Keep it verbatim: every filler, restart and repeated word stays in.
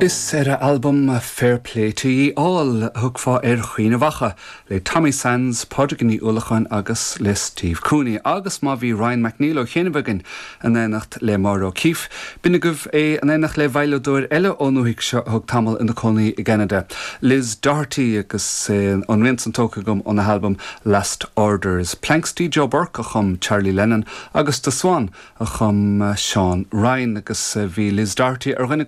Is ar a albam Fair Play to Ye All thugfá ar Chaoineadh Mhacha le Tommy Sands, Pádraig Ní Uallacháin agus le Steve Cooney, agus má bhí Ryan McNeil ó chianaibh againn in éineacht le Máire O'Keeffe, B'in agaibh é in éineacht le veidhleadóir eile ón ndúthaigh seo thug tamall ina cónaí i gCanada. Liz Doherty agus eh, an rian san tógtha agam óna halbam Last Orders. Planxty Joe Burke a chum Charlie Lennon agus The Swan a chum eh, Sean Ryan agus eh, bhí Liz Doherty ar dhuine